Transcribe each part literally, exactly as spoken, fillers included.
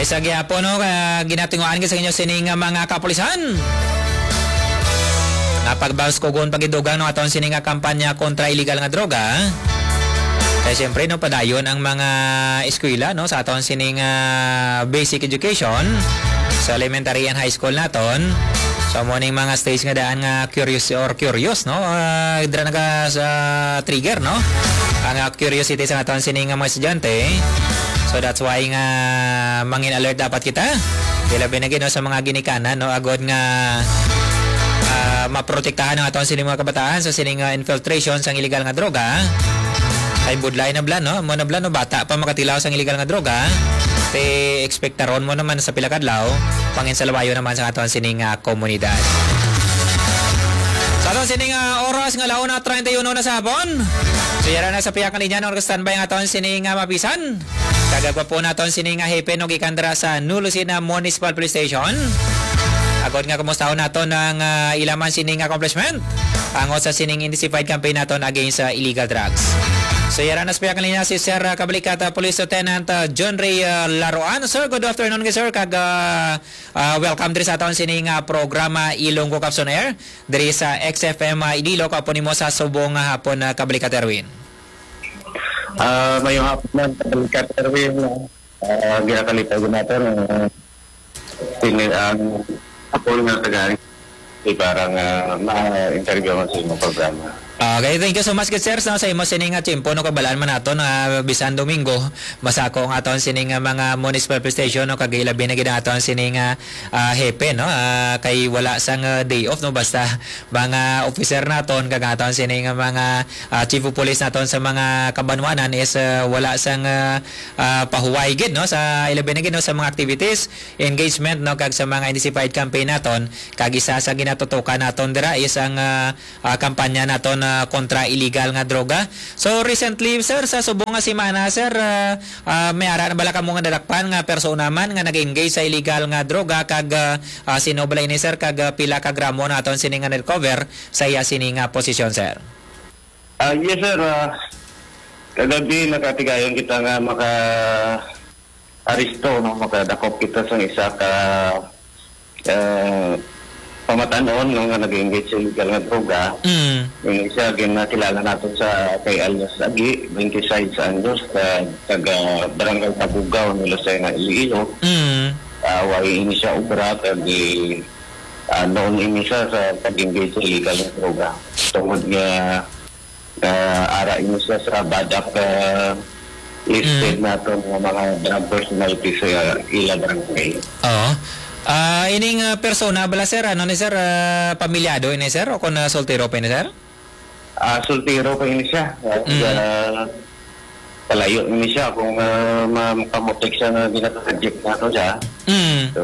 Isa gihapon, no, ka ginatinguhaan gid sa inyo sini nga mga kapulisan. Napagbaskog-on pa gid dugang, no, aton sini nga kampanya kontra illegal nga droga. Kay siyempre, no, padayon ang mga eskwela, no, sa aton sini nga basic education sa elementary and high school naton. So, mo ning mga stage nga daan nga curious or curious, no? Ah, dira naga sa trigger, no? Ang, ah, curiosity sa aton sini nga mga estudyante. So, that's why nga mangin alert dapat kita. Ilabi na gid, no, sa mga ginikanan, no? Agod nga, ah, maprotektahan ang aton sini mga kabataan sa sining, ah, infiltration sang illegal nga droga. Kay budlay na bala, no? Mo na bala, no? Bata pa makatilaw sang illegal nga droga. Ti ekspektaron mo naman sa pila kadlaw, panginsalubayo naman sa aton sining, ah, komunidad. Sa aton sining, ah, oras nga launa treinta y uno na sa hapon. So, yara na sa pihak nga linya, no? Standby ang aton sining, ah, mapisan. Kagagwa po naton sini nga hepe, no, gikan dira sa New Lucena Municipal Police Station. Agod nga kumustahon naton ang, ah, ila man sining accomplishment angot sa sining intensified campaign naton against sa illegal drugs. So, yara na sa pihak nga linya si Sir, ah, Kabalikat, ah, Police Lieutenant, ah, John Ray, ah, Laruan. Sir, good afternoon, sir. Kag, ah, ah, welcome diri sa aton sini nga programa, Ilonggo Caps on Air, diri sa X F M, ah, Iloilo. Kaupod nimo sa subong nga hapon, ah, Kabalikat Erwin. Ah, mayong hapon man, Kabalikat Erwin. Ah, ginakalipay ko nato, ah, sini-, ang ako nga taga, eh, para nga ma-interview mo sa imong programa. Okay, thank you so much, good sir, sa, sa imo sini nga tiyempo, no, kabalaan man nato na bisan Domingo, masako ang aton sini nga mga municipal police station, no, kag ilabi na gid ang aton sini nga, ah, hepe, no, ah, kay wala sang, ah, day off, no, basta mga officer naton, kag aton sini nga mga, ah, chief of police naton sa mga kabanwanan is, ah, wala sang, ah, ah, pahuway gid, no, sa ilabi na gid, no, sa mga activities, engagement, no, kag sa mga intensified campaign naton, kag isa sa ginatutukan naton dira is ang, ah, ah, kampanya naton, ah, kontra illegal nga droga. So, recently, sir, sa subong nga semana, sir, ah, ah, may ara na bala kamo nga nadakpan nga persona man nga nag-engage sa illegal nga droga, kag, ah, ah, sino bala ini, sir, kag, ah, pila ka gramo naton sini nga na-recover sa iya sini nga posisyon, sir? Ah, yes, sir. Ah, kagabi, nakatigayon kita nga maka-aresto, no? Makadakop kita sa isa ka, ah, pamatanon, no, nga nag-engage sa illegal nga droga. Mm. Yung isa, ginakilala nato sa kay alias Agi, twenty-six anyos, ka-, taga Barangay Tabugaw, New Lucena, Iloilo. Mm. Ah, way ini siya obra, kag, ah, noon ini siya sa pag-engage sa illegal nga droga. Tungod nga, ah, ara ini siya sa badak, ah, listed Mm. nato nga mga drug personality sa ila barangay. Oo. Ah, ining, ah, persona bala, sir, ano ni, sir, ah, pamilyado ini, sir, o kung, ah, soltero pa ini, sir? Ah, soltero pa ini siya. Ah, Mm. ah, palayo ini siya kung, ah, ma-, makamotek siya nga ginaproject nato siya. Mm. So,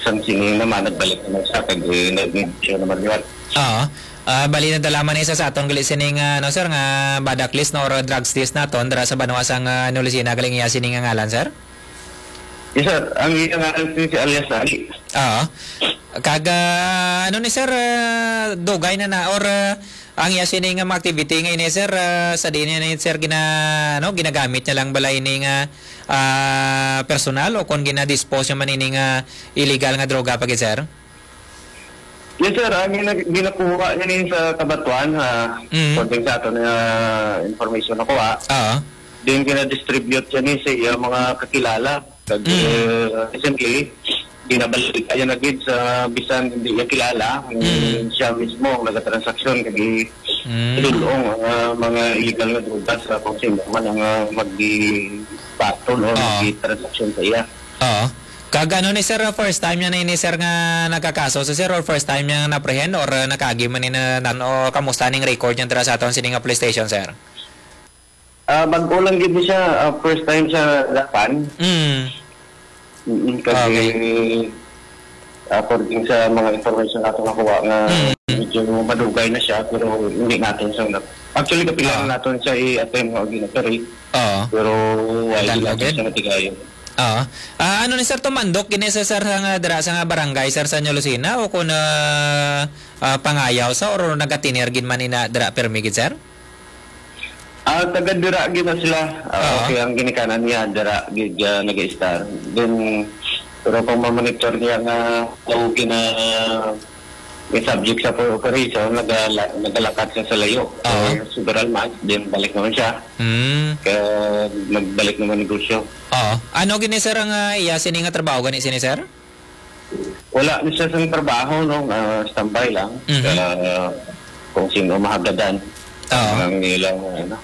sang sini naman, nagbalik naman siya, kag, eh, nag-, siya naman yun. Oo. Ah, bali, nadala man isa sa aton gali sining, ah, ano, sir, nga badak list, no, or drugs list naton dira sa banwa sang, ah, New Lucena, galing iya sini nga ngalan, sir? Yes, sir. Ang iya ngalan si, si alias Ali. Oo. Kag, ah, ano ni, sir, ah, dugay na na, or, ah, ang iya sini nga mga activity nga ini, sir, ah, sa diin niya ni, sir, gina-, ano, ginagamit niya lang bala ini nga, ah, personal, o kung gina-dispose niya man ini nga illegal nga droga pa gid, sir? Yes, sir. Ang gina-, ginakuha niya ni sa Kabatuan, ah, Mm. according sa aton nga information nakuha. Oo. Then, gina-distribute siya ni sa iya mga kakilala. Kag, Mm. eh, recently, ginabalik niya na gid sa bisan hindi niya kilala. Ang Mm. siya mismo ang nagatransaksyon, kag i-, Mm. dulong ang, ah, mga illegal nga droga sa kung sino man ang, ah, mag-, batol o Oo. mag-transaksyon sa iya. Oo. Kag ano ni sir, first time niya na ini, sir, nga nagkakaso sa sir, or first time niya na-apprehend, or, uh, nakaagi man ni na, nan-, o kamusta ning record niya dira sa aton sini nga police station, sir? Ah, bag-o lang gid ni siya, ah, first time siya dapan. Mm. Mm, kasi Okay. according sa mga information nato nakuha nga Mm. medyo madugay na siya, pero hindi natin siya na-, actually, kapila Ah. na natin siya i-attempt nga gina-operate. Oo. Pero wala Done din natin agad? siya natigayon. Oo. Ah, ano ni sir, tumandok gini sa sir nga dira sa nga barangay, sir, sa New Lucena, o kung, ah, ah, pangayaw sa, or nagatinir gid man ina dira permi gid, sir? Ah, taga dira gid na sila. Ah, Oo. Okay, ang ginikanan niya dira gid, ah, nag-i-star. Then, pero kung mamonitor niya nga, okay na, may subject sa for operation, nagala-, nagalakat siya sa layo. Oo. For several months, then balik naman siya. Mm. Kaya nagbalik naman negosyo. Oo. Ano gini, sir, ang, ah, iya sini nga trabaho gani sini, sir? Wala ni siya sa trabaho, no? Ah, standby lang. Mhm. Ah, kung sino mahagadan Oo. ang ilang, ano.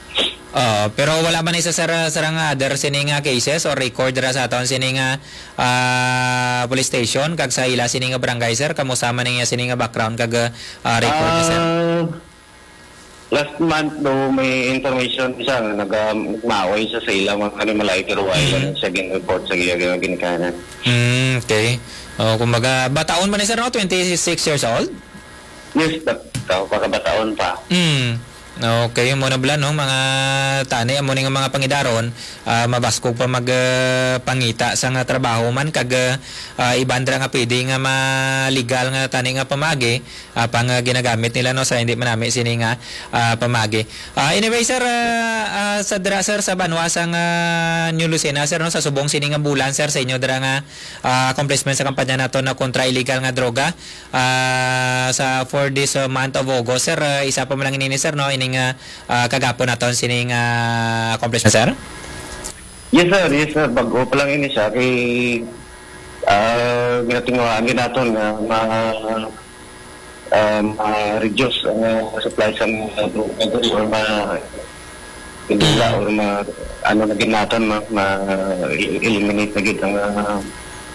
Oo, pero wala man isa, sir, sir, nga other sini nga cases or record ra sa aton sini nga, ah, police station kag sa ila sini nga barangay, sir? Kamusta man niya sini nga background kag, ah, record niya, sir? Ah, last month, do, may information siya nga naga-, nagmaaway siya sa ilang mga animal, ay, pero wala Mhm. lang siya gin-report sa iya nga ginikanan. Mm, okay. Oh, kumbaga, bataon man ni sir, no? Twenty-six years old? Yes, bat-, tao, pagkabataon pa. Mm. Okay, mo na bala, no? Mga tani, amo ni nga mga pangidaron, ah, mabaskog pa mag, ah, pangita sa nga trabaho man, kag, ah, ah, iban dira nga pwede nga ma-, legal nga tani nga pamagi, ah, pang, ah, ginagamit nila, no, sa hindi manami sini nga, ah, pamagi. Ah, anyway, sir, ah, ah, sa dira, sir, sa banwa sang, ah, New Lucena, sir, no, sa subong sini nga bulan, sir, sa inyo dira nga, ah, accomplishment sa kampanya nato na kontra illegal nga droga, ah, sa, for this, ah, month of August, sir, ah, isa pa man lang ini, sir, no, ining, ah, ah, kagapon naton sini nga accomplishment, sir? Yes, sir. Yes, sir. Bago pa lang ini siya kay, ah, ginatinguhaan gid naton nga ma-, ah, ma-reduce ang, ah, supply sa mga dro-, dro-, or ma-, pinula Mhm. or ma-, ano na gid naton, ma-, ma-eliminate na gid ang, ah,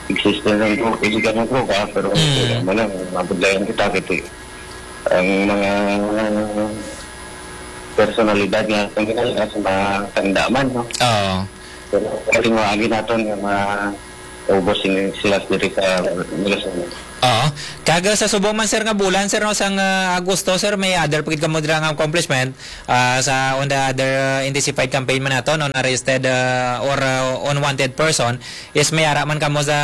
existence ng dro-, illegal na droga, pero Mhm. wala mo lang, mabudlayan kita kasi ang mga personalidad nga itong ginagawa sa mga tanda man, no? Oo. Pero kalingawan naton nga mga ubos sila diri sa Milason. Oo. Kag sa subong man, sir, nga bulan, sir, no, sang, ah, Agosto, sir, may other pa gid kamo dira nga accomplishment, ah, sa on the other, ah, intensified campaign man nato, no, arrested, ah, or, ah, unwanted person, is may ara man kamo sa,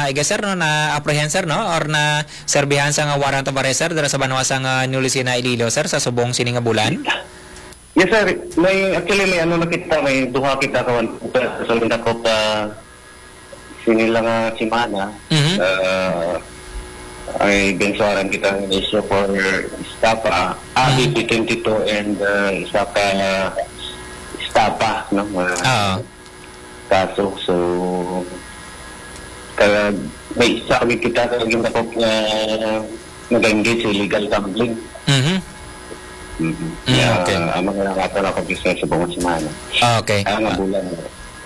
I guess, sir, no, na-apprehend, sir, no, or na serbihan sa nga warrant of arrest, sir, dira sa banwa sang, ah, New Lucena, Iloilo, sir, sa subong sini nga bulan? Yes, sir. May, actually, may ano na kita, may duha kita kawan sa Lindakop, ah, sini lang nga semana. Mhm. Ah, ay, binsuaran kita ng issue for estafa, ah, Mhm. B P twenty-two and, ah, isa ka estafa, no? Mga Oo. kaso. So, kaya may isa kami kita sa Lindakop nga nag-engage sa illegal gambling. Mhm. Mhm. Mm, Yeah, okay. Ang mga nga ako na business sa buong semana. Okay. Ah, nga Ah, bulan.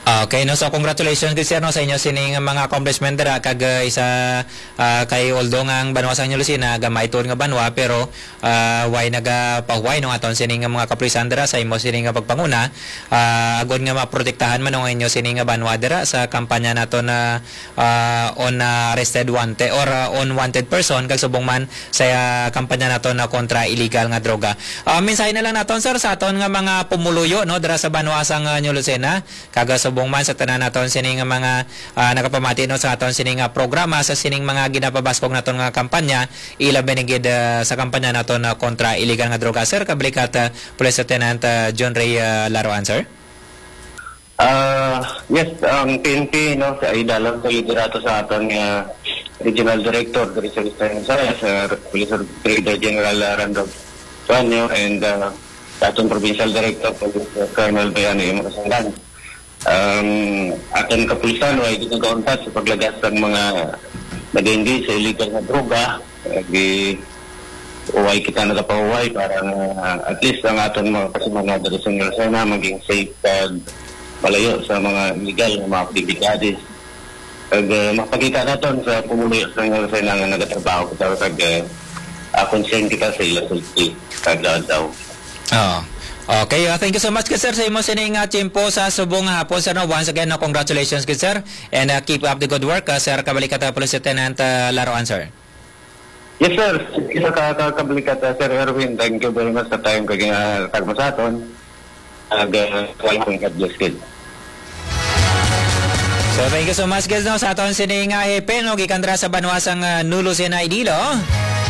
Okay, no? So, congratulations gid, sir, no, sa inyo sining mga accomplishment dira kag, uh, isa, ah, kay, although nga ang banwa sa inyo, Lucena, gamay tuod nga banwa, pero, ah, way nagapahuway, no, aton sining mga kapulisan dira sa imo sining nga pagpanguna, ah, agod nga maprotektahan man, no, ang inyo sining nga banwa dira sa kampanya nato na, ah, on, ah, arrested wanted or, ah, on wanted person, kag subong man sa, ah, kampanya nato na kontra illegal nga droga. Ah, mensahe na lang naton, sir, sa aton nga mga pumuluyo, no, dira sa banwa sang, ah, New Lucena. Kag subong man sa tanan naton sini nga mga, ah, nakapamati, no, sa aton sini nga programa, sa sining mga ginapabaskog naton nga kampanya, ilabi na gid, ah, sa kampanya naton, ah, kontra illegal nga droga, sir, kabalikat, ah, Police Lieutenant, ah, John Ray, ah, Laroan, sir. Ah, yes, ang P N P, no, sa idalom sa liderato sa aton nga Regional Director diri sa Western Visayas, ah, Police Brigadier General, ah, Randolph Suaño, and, ah, sa aton Provincial Director, Police Colonel Bayani Makasalan. Ang aton kapulisan, way gid nagauntat sa paglagas sang mga nag-engage sa illegal nga droga. Eh, di, way kita nagapahuway para nga at least ang aton mga kasamanan diri sa New Lucena maging safe kag malayo sa mga illegal nga mga aktibidades. Kag, eh, mapakita naton sa pumuluyo sa New Lucena nga nagatrabaho kita kag, eh, ah, concern kita sa ila safety kada adlaw. Oo. Okay, uh, thank you so much, sir, sa imo sining, uh, tiyempo sa subong nga hapon, sir, no? Once again, no, congratulations, good sir, and, uh, keep up the good work, uh, sir, kabalikat, uh, Police Lieutenant, uh, Laroan, sir. Yes, sir. Isa ka, ka, kabalikat, uh, Sir Erwin, thank you very much sa time kag, uh, tagma sa aton. Ag, uh, welcome, God bless, kid. So, thank you so much, guys, no, sa aton sini nga hepe, no, gikan dira sa banwa sang, ah, New Lucena, Iloilo,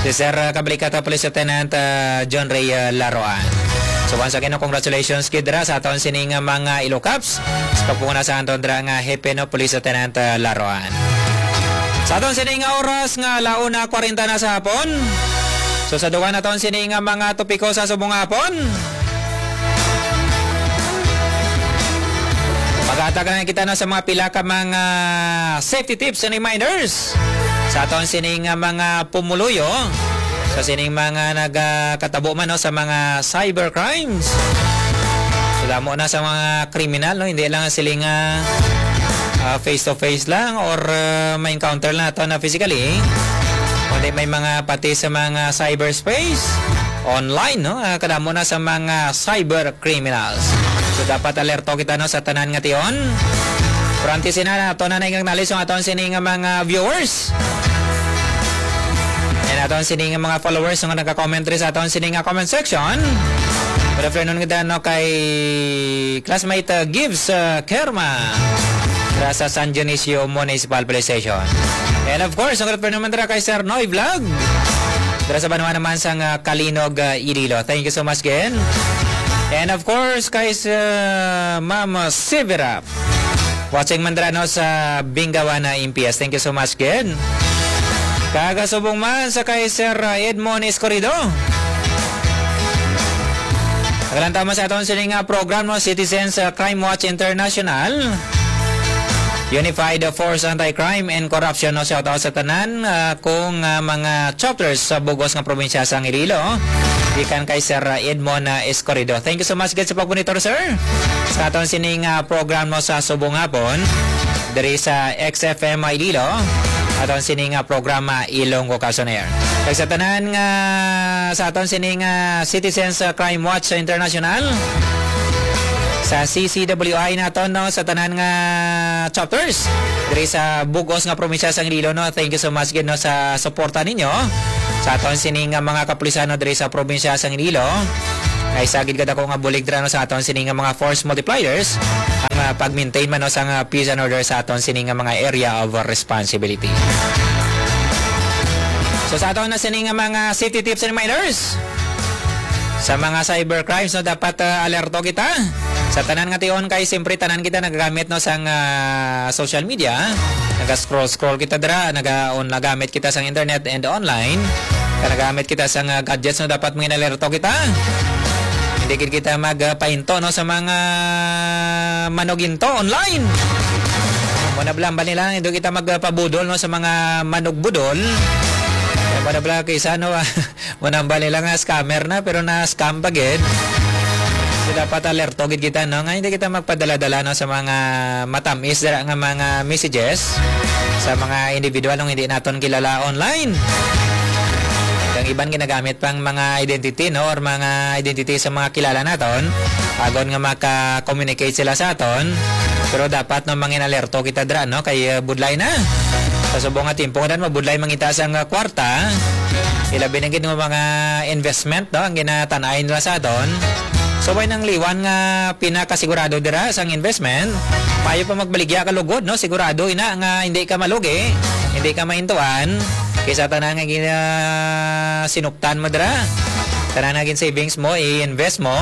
si Sir, ah, Kabalikata Police Lieutenant, ah, John Ray, ah, Laroan. So once again, no, congratulations gid dira sa aton sini nga mga Ilocaps sa pagpunguna sa aton dira nga Hepe, no, Police Lieutenant, uh, Laruan. Sa aton sini nga oras nga ala una kwarenta na sa hapon. So sa dugang naton sini nga mga topiko sa subong hapon, maghatag na kita na sa mga pila ka mga safety tips and reminders sa aton sini nga mga pumuluyo, sa sining mga nagakatabo man, no, sa mga cyber crimes. So damo na sa mga kriminal, no, hindi lang sila nga, ah, face to face lang or, ah, ma-encounter lang nato na physically, kundi may mga pati sa mga cyberspace, online, no, ah, kadamo na sa mga cyber criminals. So dapat alerto kita, no, sa tanan nga tion. Pero antes sina, ato na nag-acknowledge ang aton sini nga mga viewers and aton sini nga mga followers nga nagka-comment diri sa aton sini nga comment section. Good afternoon gid, no, kay classmate, uh, Gibbs, uh, Kerma, dira sa San Dionisio Municipal Police Station. And of course, ang good afternoon man dira kay Sir Noy Vlog, dira sa banwa naman sang, uh, Calinog, uh, Iloilo. Thank you so much again. And of course, kay, uh, Ma'am Severa, watching man dira, no, sa Bingawana, M P S. Thank you so much, gid. Kagasubong man sa kay Sir, uh, Edmond Escorido. Naglantaw man sa aton sini nga program, no, Citizens, uh, Crime Watch International. Unified Force Anti-Crime and Corruption, no, shout out sa tanan, uh, kung, uh, mga chapters sa bugos nga probinsya sa Iloilo. Gikan kay Sir, uh, Edmond, uh, Escorido. Thank you so much, gid, sa pagmonitor, sir, sa aton sining, ah, program, no, sa subong hapon diri sa X F M Iloilo, aton sining, ah, programa Ilonggo Kag On Air. Kag sa tanan nga sa aton sining, ah, Citizens, ah, Crime Watch International, sa C C W I naton, no, sa tanan nga chapters diri sa bugos nga probinsya sa Iloilo, no. Thank you so much gid, no, sa suporta ninyo sa aton sining, ah, mga kapulisan, no, diri sa probinsya sa Iloilo. Ay, sa gid kadako nga bulig dira, no, sa aton sini nga mga force multipliers, ang, ah, pag-maintain man, no, sa nga peace and order sa aton sini nga mga area of responsibility. So, sa aton na sini nga mga safety tips and reminders, sa mga cyber crimes, no, dapat, ah, alerto kita. Sa tanan nga tion, kay siyempre tanan kita nagagamit, no, sang, ah, social media. Naga-scroll-scroll kita dira, naga-on, nagamit kita sang internet and online. Kag nagamit kita sang, ah, gadgets, no, dapat mangialerto kita. Hindi gid kita magpahinto, no, sa mga manuginto online. Mo na bala, bali lang, hindi kita magpabudol, no, sa mga manugbudol. Mo na bala, kaysa, no, mo na bali lang nga scammer na, pero na-scam pa gid. So, dapat alerto gid kita, no, nga hindi kita magpadala-dala, no, sa mga matamis dira nga mga messages sa mga individual nga hindi naton kilala online. Ang iban ginagamit pang mga identity, no, or mga identity sa mga kilala naton, agon nga maka-communicate sila sa aton. Pero dapat, no, mangin alerto kita dira, no, kay, uh, budlay na. Sa subong nga timpo nga dan, mabudlay mangita sang, uh, kwarta. Ilabi na gid nga mga investment, no, ang ginatan-ay nila sa aton. So, may nang liwan nga pinakasigurado dira sang investment. Maayo pa magbaligya ka lugod, no? Sigurado ina nga hindi ka malugi, hindi ka maintuan. Kaysa tanan nga gina-, sinuptan mo dira. Tanan nga gin-savings mo, i-invest mo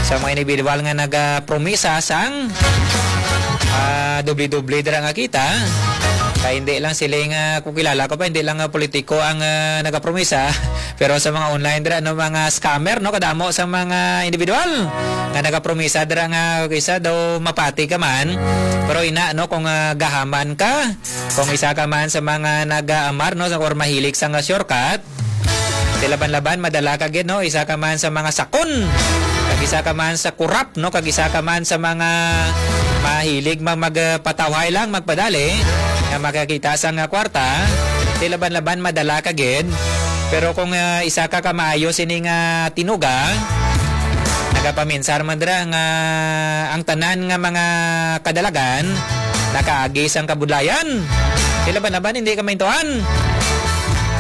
sa mga individual nga nagapromisa sang, ah, doble-doble dira nga kita. Kay hindi lang sila nga, kung kilala ko pa, hindi lang nga politiko ang, ah, nagapromisa. Pero sa mga online dira, no, mga scammer, no, kadamo sa mga individual nga nagapromisa dira nga kisa daw mapati ka man. Pero ina, no, kung, ah, gahaman ka, kung isa ka man sa mga nag-aamar, no, sa, or mahilig sa nga shortcut, di laban-laban, madala ka gid, no, isa ka man sa mga sakon, kag isa ka man sa kurap, no, kag isa ka man sa mga mahilig mag-, magpatawhay lang, magpadali, nga makakita sa nga kwarta, di laban-laban madala ka gid. Pero kung, ah, isa ka ka maayo sini nga tinuga, nagapaminsar man dira nga ang tanan nga mga kadalagan nakaagi sang kabudlayan. Di laban-laban hindi ka maintuan.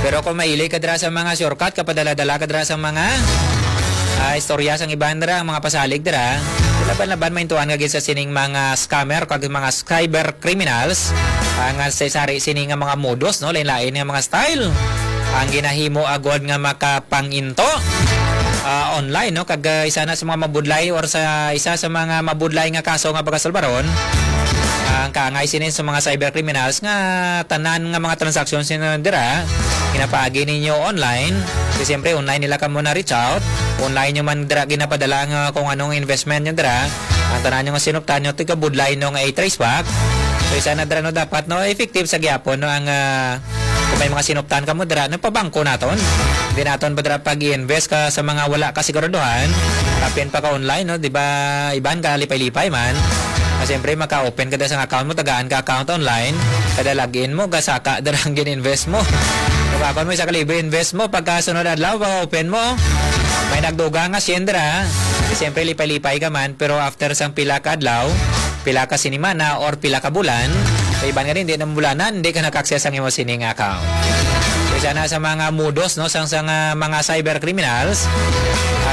Pero kung mahilig ka dira sa mga shortcut, kapadala-dala ka dira sa mga, ah, istorya sang iban dira, ang mga pasalig dira, di laban-laban maintuan ka gid sa sining mga scammer kag mga cyber criminals, ah, nga sa sari sini nga mga modus, no, lain-lain nga mga style ang ginahimo agod nga makapanginto. ah, online, no? Kag, ah, isa na sa mga mabudlay or sa isa sa mga mabudlay nga kaso nga pagkasulbaron, ang kaangay sini sa mga cyber criminals nga tanan nga mga transactions ninyo dira, ginapaagi ninyo online. Kasi siyempre, online nila kamo na reach out. Online nyo man dira ginapadala nga kung anong investment nyo dira. Ang tanan nyo nga sinuptan nyo, tigabudlay no nga i-trace back. So, isa na dira, no, dapat, no, effective sa gyapon, no, ang, ah, kung may mga sinuptan kamo dira, no, pabangko naton. Hindi naton ba dira pag-i-invest ka sa mga wala ka siguraduhan? Kapin pa ka online, no? Di ba, iban ka lipay-lipay man. Na siyempre, maka-open ka dira sa account mo, tagaan ka account online. Kada login mo, gasaka dira ang gin-invest mo. Kapakon mo, isa ka libo invest mo, pagka sunod adlaw, pag-open mo, may nagduga nga siyendra. Siyempre, lipay-lipay ka man, pero after sang pila ka adlaw, pila ka sinimana, or pila ka bulan, sa iban nga din, di na bulanan, di ka naka-access ang imo sining account. So, isa na sa mga modus, no, sang, sang, ah, mga cyber criminals,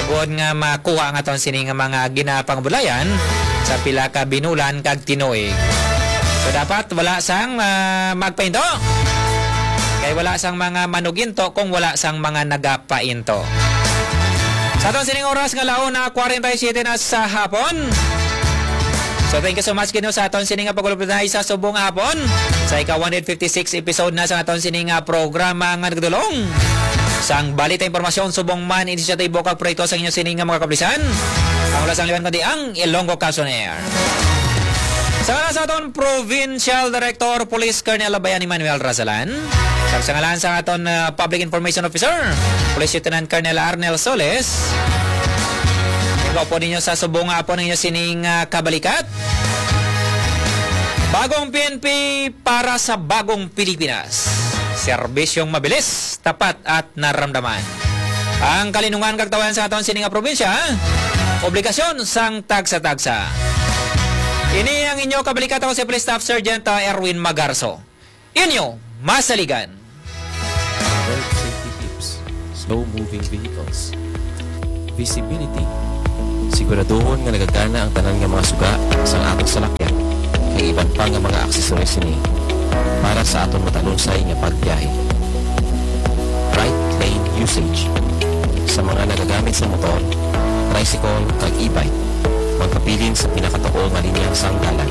agod nga makuha nga ton sining mga ginapangabudlayan sa pila ka binulan kag tinuig. So, dapat wala sang, ah, magpahinto. Kay wala sang mga manuginto kung wala sang mga nagapainto. Sa aton sining oras nga launa, kwarenta y siyete na sa hapon. So, thank you so much, Ginoo, sa aton sining nga pagulupitay sa subong hapon. Sa ika one hundred fifty-six episode na sa aton sining nga programa nga nagdulong sang balita, impormasyon, subong man, inisyatibo kag proyekto sa inyo sining nga mga kapulisan. Ang wala sang liwan kundi ang Ilonggo Comes on Air. Sa ngalan sa aton Provincial Director Police Colonel Bayani Manuel Razalan, kag sa ngalan sa aton, ah, Public Information Officer, Police Lieutenant Colonel Arnel Soles, ikaw po ninyo sa subong nga hapon ninyo sining, ah, kabalikat. Bagong P N P para sa bagong Pilipinas. Serbisyong mabilis, tapat at naramdaman. Ang kalinungan kag tawayan sa aton sini nga probinsya, obligasyon sang tagsa-tagsa. Ini ang inyo kabalikat, ako si Police Staff Sergeant, ah, Erwin Magarso. Inyo masaligan. Road safety tips, slow moving vehicles, visibility. Siguraduhon nga nagagana ang tanan nga mga suga sang aton salakyan, kag iban pa nga mga aksesoris sini para sa aton matalunsay nga pagbiyahe. Right lane usage. Sa mga nagagamit sa motor, tricycle, kag e-bike, magpabilin sa pinakatuo nga linya sang dalan.